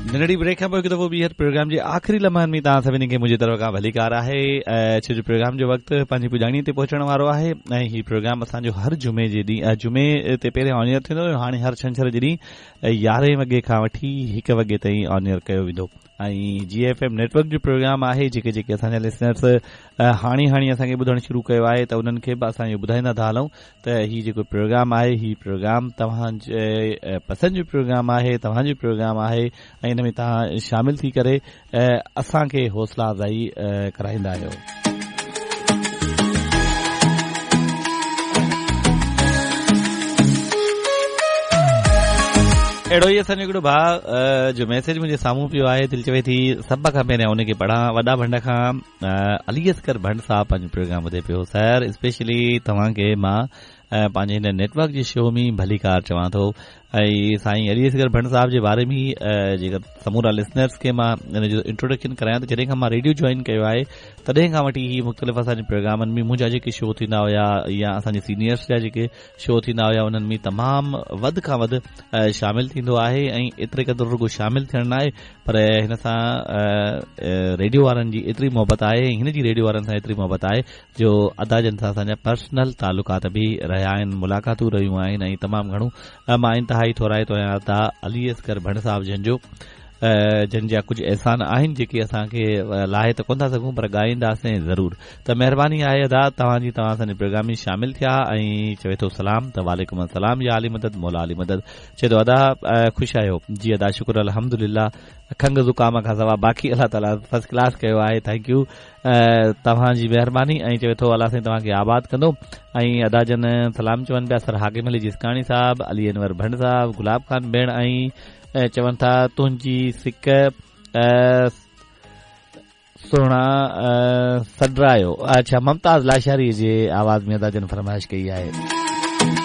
ننڍڙي بريڪ کان پوء هڪ دفعو ٻيهر پروگرام جي آخري لمحن ۾ توهان سڀني کي منهنجي طرف کان ڀليڪار آهي ڇو جو پروگرام جو وقت پنهنجي پڄاڻي تي پهچڻ وارو آهي ۽ هي پروگرام اسان جو هر جمعي جي ڏينهن جمعي تي پهريان آن ايئر ٿيندو هو هاڻي هر ڇنڇر جي ڏينهن يارهين وڳي کان وٺي هڪ وڳي تائين آن ايئر ڪيو ويندو ۽ جي ايف ايم نيٽ ورڪ جو پروگرام آهي جيڪي جيڪي اسان جا لسنرس هاڻي هاڻي اسان کي ٻڌڻ شروع ڪيو آهي ته انهن کي به اسان اهو ٻڌائيندا ٿا هلون ته هي جيڪو پروگرام آهي هي پروگرام توهان جي پسند جو پروگرام آهي توهان جو پروگرام آهي ۽ ان ۾ توهان شامل ٿي ڪري اسان کي حوصلا افزائي ڪرائيندا آهيو. اهڙو ئي اسان جو هڪڙو ڀاء جو ميسيج منهنجي سامهون پيو آهي دل چوي ٿي سڀ کان پهريان ان کي پڙهان وڏا ڀنڊ کان علي اصغر ڀنڊ صاحب پنهنجو پروگرام ٻڌي پيو سر اسپيشلي توهان کي مان پنهنجي هن نيٽ ورڪ جي شو ۾ ڀليڪار چوان ٿو ۽ سائين علي اصغر ڀنڊ صاحب جي باري ۾ جيڪر سمورا لسنرس کي مان ان جو انٽروڊڪشن ڪرايان ته جڏهن کان مان ريڊيو جوائن ڪيو آهي تڏهن کان وٺي هي مختلف اسان جي پروگرامن ۾ منهنجا جيڪي شو ٿيندا هيا يا اسان جي سينيئرس جا جيڪي شو ٿيندا هيا انهن ۾ تمام وڌ کان وڌ شامل ٿيندو آهي ۽ ايتري قدر رڳو شامل ٿيڻ ناهي پر هن سان ريڊيو وارن جي ايتري محبت آهي ۽ هن جي ريڊيو وارن سان ايتري محبت آهي جو ادا جن سان اسان جا پرسنل تعلقات به رهيا آهن ملاقاتون رهيون آهن ۽ تمام گهڻو مان انتهائي ٿورائتو آهيان ادا علي اصغر ڀنڊ صاحب جن جو جن جا ڪجهه احسان آهن جيڪي اسان کي لاهي ته ڪونه ٿا سگهون پر ڳائينداسين ضرور ته مهرباني آهي ادا توهان جي توهان اسان جي پروگرام ۾ شامل ٿيا ۽ چوي ٿو سلام ته وعليڪم السلام يا علي مدد مولا علي مدد چئي ٿو ادا خوش آهيو جي ادا شڪر الحمدلله کنگهه زڪام کان سوا باقي الله تعالي فرسٽ ڪلاس ڪيو آهي thank you توهان جي مهرباني ۽ چوي ٿو الله سائين توهان کي آباد ڪندو ۽ ادا جن سلام چون پيا سر حاڪم علي جسڪاڻي صاحب علي انور ڀنڊ صاحب گلاب خان ڀيڻ ۽ چون ٿا تنهنجي سڪ سهڻا سڏرايو اڇا ممتاز لاشاري جي آواز ۾ ادا جن فرمائش ڪئي آهي.